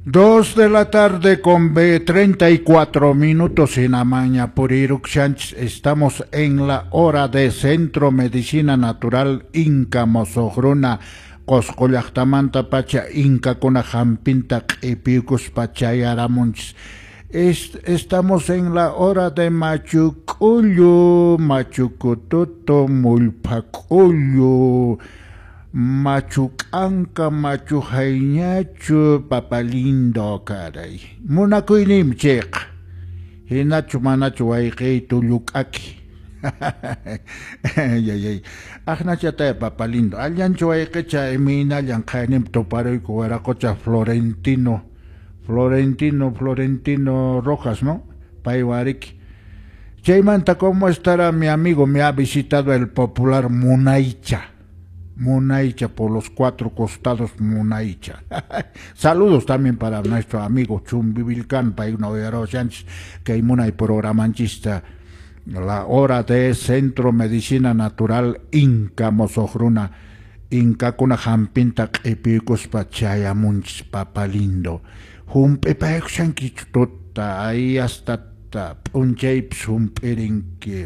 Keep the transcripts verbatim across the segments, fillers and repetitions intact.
Dos de la tarde con treinta y cuatro minutos en Amaña Purirukshanchis. Estamos en la hora de Centro Medicina Natural Inca Mosoqruna. Qosqo llaqtamanta pacha Inkakuna hampinta q'ipiykuspa chayaramunchis. Estamos en la hora de Machu K'ullu, Machu Kututu, Mullpha K'ullu, Machu K'anka, Machu Hayñachu, Papalindo, caray. Munakuyniymi chayqa. Hinachu manachu wayqiy tulluk'aki. Yayay. Aqnachataya papalindo. Allanchu wayqicha imaynallan qhayninpi tuparuyku wiraqocha Florentino. Florentino, Florentino Rojas, ¿no? Paywariki. Chaymanta, ¿cómo estará mi amigo? Me ha visitado el popular Munaycha. Munaycha por los cuatro costados, Munaycha. Saludos también para nuestro amigo Chumbivilcán, paykuna Sánchez, que munay programanchista. La hora de Centro Medicina Natural Inca Mosoqruna, Inkakuna hampinta q'ipiykuspa chayamunchis papalindo. Hump'ipaykushankichu tuta, ahí hasta p'unchaypis hump'irinki.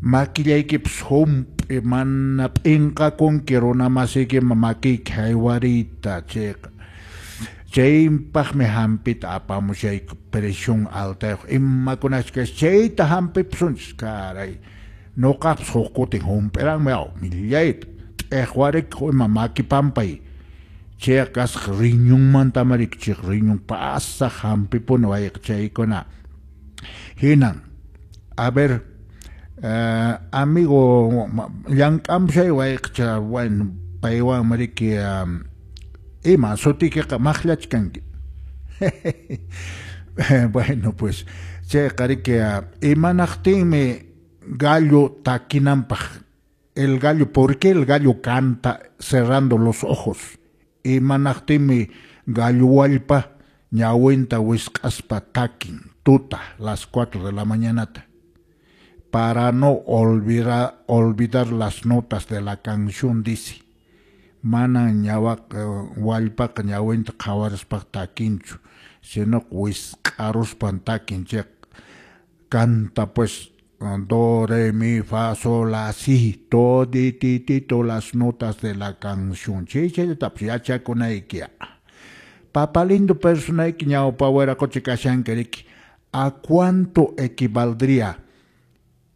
Makillaykipas hump'i mana p'inqakunki runa masiykiman makiyki haywariyta chayqa. Chaypaqmi hampita apamushayku presión altayuq imakunachus kashan chayta hampipusunchis caray. Nuqapas huk kutin hump'iranmi aw millayta t'iqwarikuq ima maki pampay. Chayqa kasqa riñonmantamari chay riñón pasaq hampipuni wayqa chaykuna. Hinan, a ver, uh, amigo llank'amushay wayqacha bueno paywanmi riki um, ima sutiykiqa maqllachkanki. Bueno, pues chayqa riki imanaqtinmi gallo takinanpaq el gallo, ¿por qué el gallo canta cerrando los ojos? Imanaqtinmi gallo wallpa ñawinta wisq'aspa takin tuta las cuatro de la mañanata para no olvidar, olvidar las notas de la canción, dice. Mana ñawaq wallpaqa ñawinta qhawarispa takinchu, sino wisq'aruspan takin chay canta pues do, re, mi, fa, sol, la, si, todititito las notas de la canción. Chay chayllatapas yachakunayki. Papalindo personayki ñawpa wiraqocha kashanki riki. ¿A cuánto equivaldría?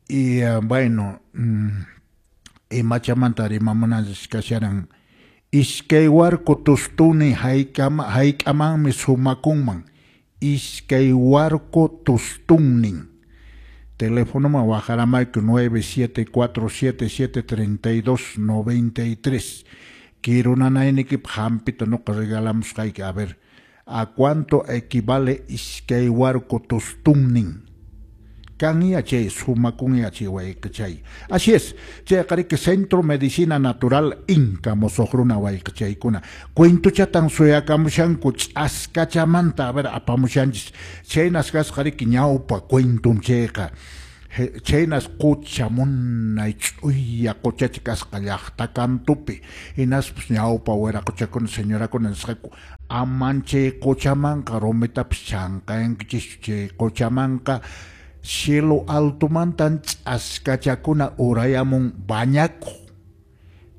Y uh, bueno, mm, imachamanta rimamunanchis kasharan. Iskay warku tustuni hayk'amanmi sumakunman. Iskay warku tustunnin. Teléfono waqharamayku nueve siete cuatro siete siete treinta y dos noventa y tres. Quiero nanaynikipaq hampita nuqa regalamusqayki. A ver, ¿a cuánto equivale iskay warku tustunnin? Kan chay sumakun chay wayqichay. Así es, chayqa riki Centro Medicina Natural Inca Mosoqruna wayqichaykuna. Cuentuchatan suyakamushanku ch'askachamanta, a ver, apamushanchis. Chaynas kasqa riki ñawpa cuentum chayqa. Chaynas qucha munay ch'uya quchacha kasqa llaqta kantupi. Hinaspas ñawpa wiraqochakuna señorakuna nisqaku aman chay quchamanqa rumitapas chanqayankichischu chay quchamanqa cielo altomantan ch'askachakuna urayamun bañakuq.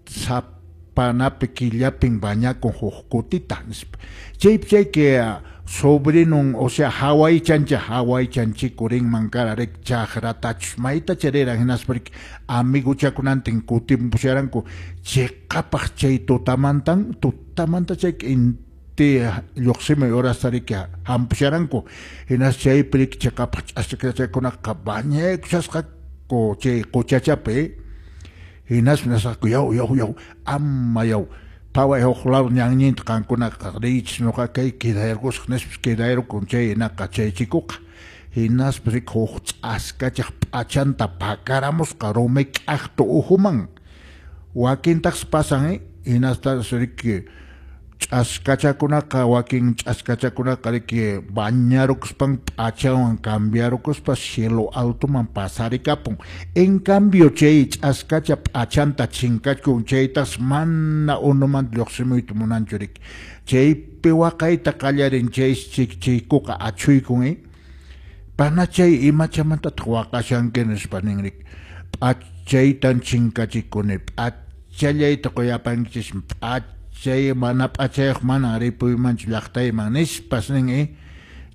Sapanapi killapin bañakun huk kutita nispa. Chaypi chayki sobrinon, o sea, hawaychancha hawaychanchiku rinman kara riki chaqratachus mayta chariran hinaspa riki amiguchakunantin kutimpusharanku chiqapaq chay tutamantan tutamanta chayki inti lluqsimuy horasta riki hampusharanku hinas chaypi riki chiqapaq ch'askachakunaqa bañaykushasqaku chay quchachapi hinaspa nisqaku yaw yaw yaw ama yaw phaway huk lado ñanñinta qankunaqa riychis nuqa kay quedayarqusaq nispas quedayarukun chay hinaqa chay chikuqa hinaspa riki huk ch'askachaq p'achanta pakaramusqa rumi k'aqtu uhuman wakintaqsi pasan eh hinastas riki Ch'askachakunaqa wakin ch'askachakunaqa riki bañarukuspan p'achawan cambiarukuspa cielo altoman pasarikapun. En cambio chay ch'askacha p'achanta chinkachkun chaytas mana unumanta lluqsimuyta munanchu riki. Chaypi waqayta qallarin chay chikchiykuqa achhuykun eh. Panachay imachamantataq waqashanki nispa nin riki. P'achaytan chinkachikuni, p'achallayta quyapankichismi, p'achay mana p'achayuq mana ripuymanchu llaqtayman nispas nin eh.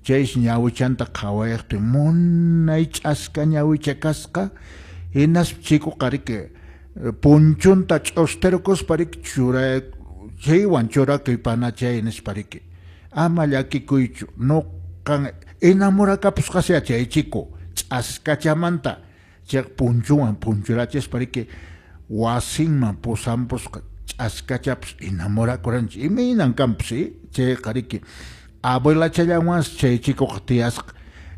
Chaysi ñawichanta qhawayaqtin munay ch'aska ñawicha kasqa hinaspa chikuqa riki punchunta ch'ustirukuspa riki churay chaywan churakuy panachay nispa riki. Ama llakikuychu nuqan enamorakapusqasya chay chico ch'askachamanta chay punchuwan punchurachispa riki wasinman pusampusqa ch'askachapas enamorakuranchik imaynan kanpas eh chayqa riki abuelachallanwansi chay chikuqa tiyasqa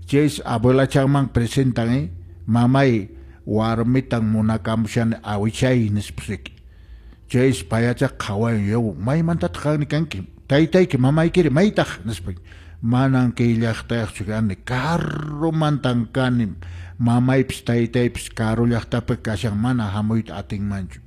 chaysi abuelachanman presentan eh mamay warmitan munakamushani awichay nispas riki. Chaysi payachaqa qhawayan yaw maymantataq qanri kanki taytayki mamaykiri maytaq nispa manan kay llaqtayuqchu kani karumantan kani mamaypis taytaypis karu llaqtapi kashan mana hamuyta atinmanchu.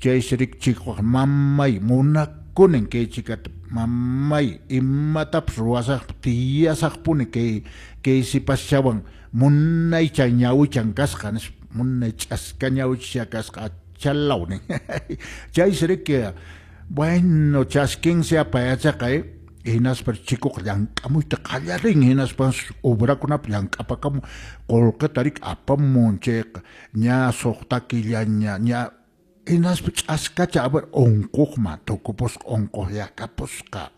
Chaysi riki chikuqa mamay munakunin kay chikata mamay imatapas ruwasaqpas tiyasaqpuni kay kay sipaschawan munaychan ñawichan kasqa nispa munay ch'aska ñawicha kasqa chalaw nin. Chaysi riki bueno chaskinsi payachaqa eh hinaspa chikuqa llank'amuyta qallarin hinaspa obrakunapi llank'apakamun qullqita riki apamun chayqa ña suqta killaña ña hinaspa ch'askacha a ver unquqman tukupusqa unquqllakapusqa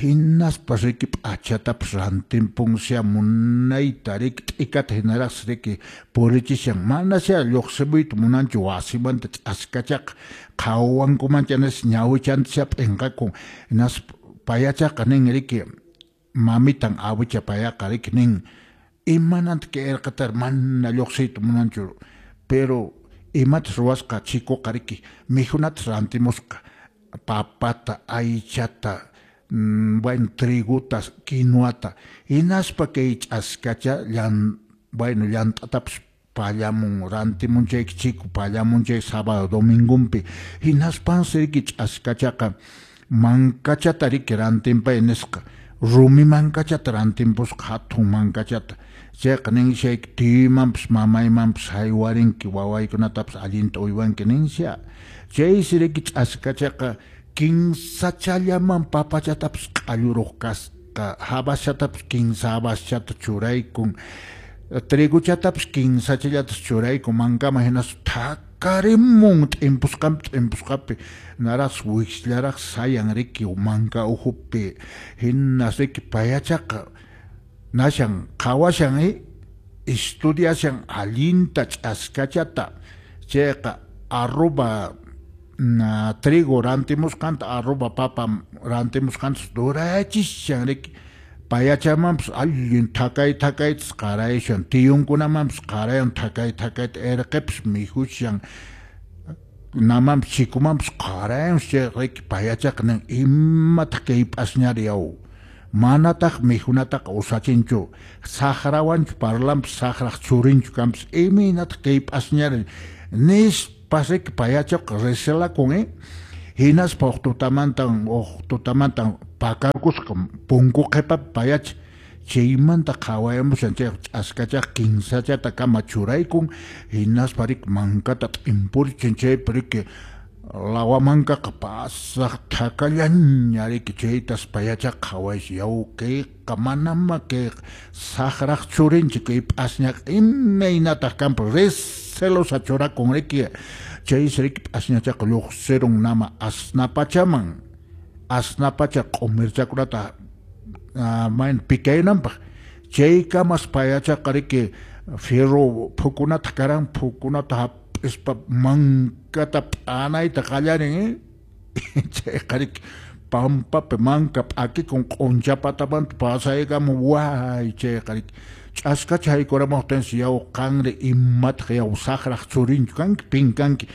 hinaspa riki p'achatapas rantinpunsia munayta riki t'ikata hinaraqsi riki purichishan manasya lluqsimuyta munanchu wasimanta ch'askachaqa qhawankumancha nispa ñawichantasya p'inqakun hinaspa payachaqa nin riki mamitan awicha payaqa riki nin imananta kay irqatari mana lluqsiyta munanchu pero imatas ruwasqa chikuqa riki mikhunatas rantimusqa papata aychata bueno triguta quinuata hinaspa kay ch'askacha llan bueno llant'atapas pallamun rantimun chay chiku pallamun chay sábado domingunpi hinaspansi riki ch'askachaqa mankachata riki rantinpay nisqa rumi mankachata rantinpusqa hatun mankachata chayqa ninshayki tiyuymanpas mamaymanpas haywarinki wawaykunatapas allinta uywanki ninsha chaysi riki ch'askachaqa kinsachallaman papachatapas q'alluruq kasqa habashatapas kinsa habashata churaykun triguchatapas kinsachallatas churaykun mankaman hinaspa thakarimun t'impusqanpi t'impusqapi naraqsi wikshllaraq sayan riki manka ukhupi hinas riki payachaqa nashan qhawashan eh estudiashan allinta ch'askachata chayqa arroba na trigo rantimusqanta arroba papa rantimusqantas durachishan riki payachamanpas allin thakay thakaytas qarayshan tiyunkunamanpas qarayan thakay thakayta irqipas mikhushan namanpas chikumanpas qarayan chay riki payachaqa nin imataq kay p'asñari yaw manataq mikhunataqa usachinchu saqrawanchu parlanpas saqraq churinchu kanpas imaynataq kay p'asñari nispas riki payachaqa recelakun eh hinaspa huk tutamantan huk tutamantan pakarkusqa punku qhipapi payacha chaymanta qhawayamushan chay ch'askachaqa kinsachata kama churaykun hinaspa riki mankata t'impurichin chaypi riki lawa mankaqa pasaq thakallaña riki chaytas payachaqa qhawaysi yaw kayqa manama kay saqraq churinchik kay p'asñaqa imaynataq kanpas recelosa churakun riki chaysi riki p'asñachaqa lluqsirun nama asnapachaman asnapacha q'umirchakunata mayna pikaynanpaq chaykamas payachaqa riki fierro phukunata karan phukunata hap'ispa mankata p'anayta qallarin eh chayqa riki pampapi manka p'akikun q'unchapatamanta pasaykamun way chayqa riki ch'askacha haykuramuqtinsi yaw qanri imataq yaw saqraq churinchu kanki pin kanki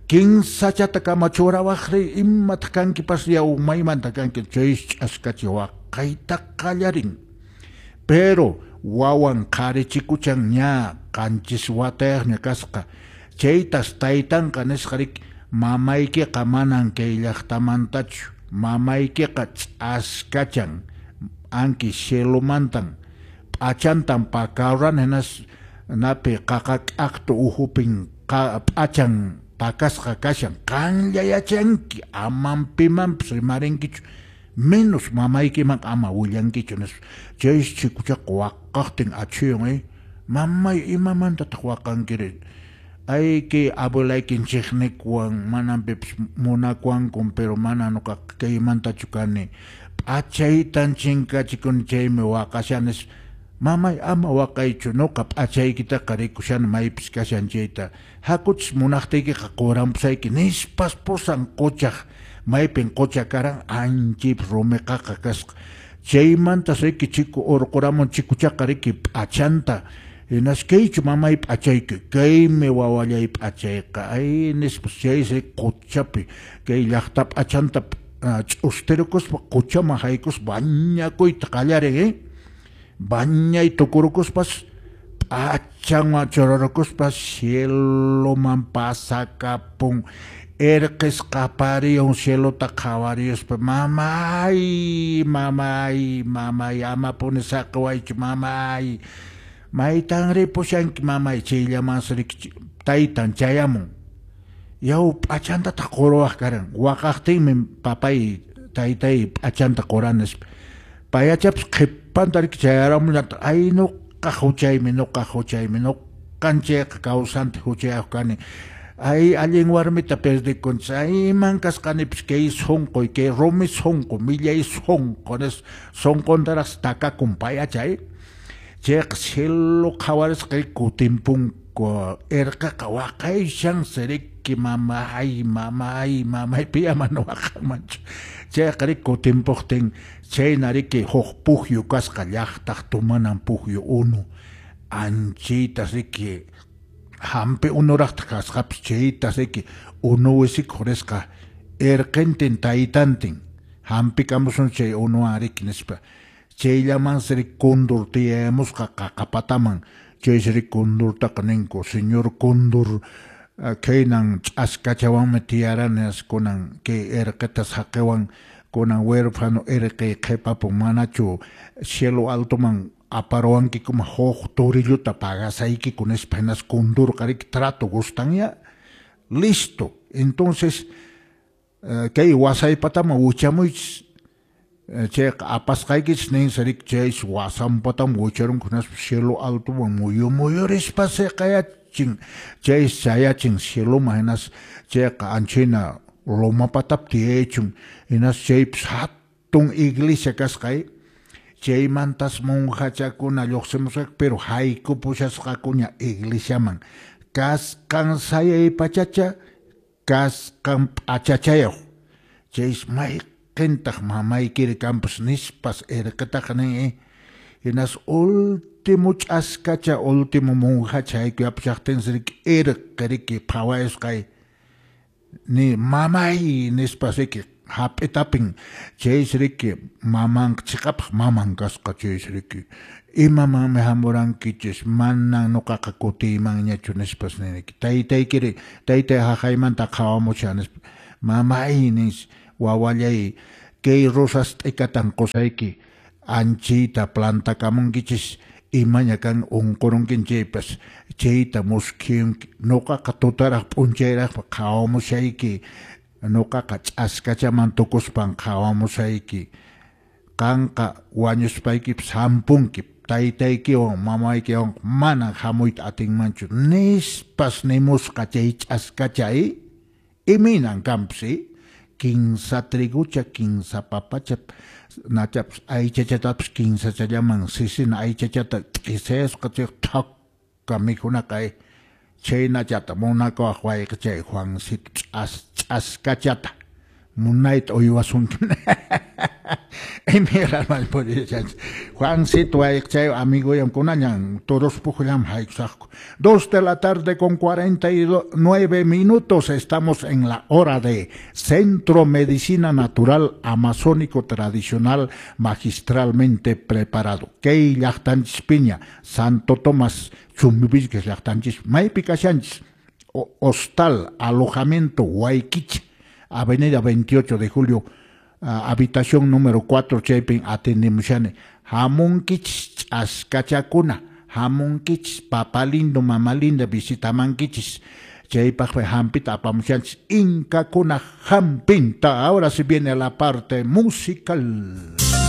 Kinsachata kama churawaqri imataq kankipas yaw maymanta kanki chay ch'askacha waqayta qallarin. Pero wawan qhari chikuchan ña qanchis watayaqña kasqa. Chaytas taytanqa nisqa riki mamaykiqa manan kay llaqtamantachu, mamaykiqa ch'askachan anki cielomantan p'achantan pakaruran hinas napi qaqa k'aqtu uhupin p'achan pakasqa kashan qanlla yachanki aman pimanpas rimarinkichu menos mamaykiman ama willankichu nispa. Chaysi chikuchaqa waqaqtin achhuyan eh mamay imamantataq waqankiri ay kay abuelaykin chiqnikuwan manan pipas munakuwankun pero mana nuqaqa kaymantachu kani p'achaytan chinkachikuni chaymi waqashani nispa. Mamay ama waqaychu nuqa p'achaykitaqa rikushani maypis kashan chayta hakuchis munaqtiykiqa quranpusayki nispas pusan quchaq maypin qucha karan anchaypi rumi qaqa kasqa. Chaymantas riki chiku urquramun chikuchaqa riki p'achanta hinas kaychu mamay p'achayki kaymi wawallay p'achayqa ay nispas chaysi quchapi kay llaqta p'achanta ch'ustirukuspa quchaman haykuspa bañakuyta qallarin eh bañay tukurukuspas p'achanwan churarukuspa cieloman pasakapun erqis qapariyon cielota qhawariyuspa mamay mamay mamay amapuni saqiwaychu mamay maytan ripushanki mamay chayllamansi riki taytan chayamun yaw p'achantataq quruwaq karan waqaqtinmi papay taytay p'achanta quran nispa payachapas qhipanta riki chayaramunllataq ay nuqa huchaymi nuqa huchaymi nuqan chayqa kawsante huchayaq kani ay allin warmita perdikunchis ay iman kasqanipis kay sunquy kay rumi sunqu millay sunqu nispa sunquntaraqsi takakun payachay chayqa cielo qhawarisqa kutinpunku erqaqa waqayshansi riki mamay mamay mamay piya mana waqanmanchu chayqa riki kutinpuqtin chayna riki huk pukyu kasqa llaqtaq tumanan pukyu unu anchaytas riki hampi unuraqtaq kasqapis chaytas riki unu wisikuq risqa erqintin taytantin hampikamusun chay unuwan riki nispa chayllamansi riki kundur tiyamusqa qaqapataman chaysi riki kundurtaqa ninku señor kundur kaynan ch'askachawanmi tiyarani kunan kay erqita saqiwan kunan huérfano erqi qhipapun manachu cielo altoman aparuwankikuma huk torilluta pagasaykiku nispa hinas kundurqa riki trato gustan ya listo entonces kay wasaypataman wichamuychis chayqa apasqaykichis ninsi riki chaysi wasanpataman wicharunku hinaspa cielo altoman muyu muyurispa siqayachin chaysi chayachin cieloman hinas chayqa anchayna loma patapi tiyaychun hinas chaypis hatun iglesia kasqa chaymantas monjachakuna lluqsimusqaku pero haykupushasqakuña iglesiaman kasqan sayay pachacha kasqan p'achachayuq chaysi mayqintaq mamaykiri kanpas nispas erqitaqa nin hinas último ch'askacha último monjacha haykuyapashaqtinsi riki erqi riki phawayusqay ni mamay nispas riki hap'itapin chaysi riki mamanqa chiqapaq maman kasqa chaysi riki imamanmi hamurankichis manan nuqaqa kutiymanñachu nispas niriki taytaykiri taytay haqaymanta qhawamushan nispa mamay nis wawallay kay rosas t'ikatan qusayki anchayta plantakamunkichis imaña kan unqurunkin chaypas chayta muskhiyunki nuqaqa tutaraq p'unchayraqpa qhawamushayki nuqaqa ch'askachaman tukuspan qhawamushayki qanqa wañuspaykipas hampunki taytaykiwan mamaykiwan manan hamuyta atinmanchu nispas nimusqa chay ch'askacha imaynan kanpas kinsa trigucha kinsa papacha nachapas aychachatapas kinsachallaman sisina aychachata t'isayasqa chay thakka mikhunaqa chaynachata munakuwaq wayqichay Juancito ch'as ch'askachata munayta uywasunki. Juancito chay amigo kunañan todos pujllam haykusaqku. Dos de la tarde con cuarenta y nueve minutos, estamos en la hora de Centro Medicina Natural Amazónico Tradicional magistralmente preparado. Kay llaqtanchispiña, Santo Tomás Chumbivilcas llaqtanchis, maypi kashanchis, Hostal, Alojamiento Huayquicha, Avenida veintiocho de Julio, uh, habitación número cuatro, chaypin atendemushani. Hamunkichis ch'askachakuna, hamunkichis papa lindo, mama linda, visitamankichis. Chaypaq hampita apamushanchis, inkakuna hampinta. Ahora sí viene la parte musical.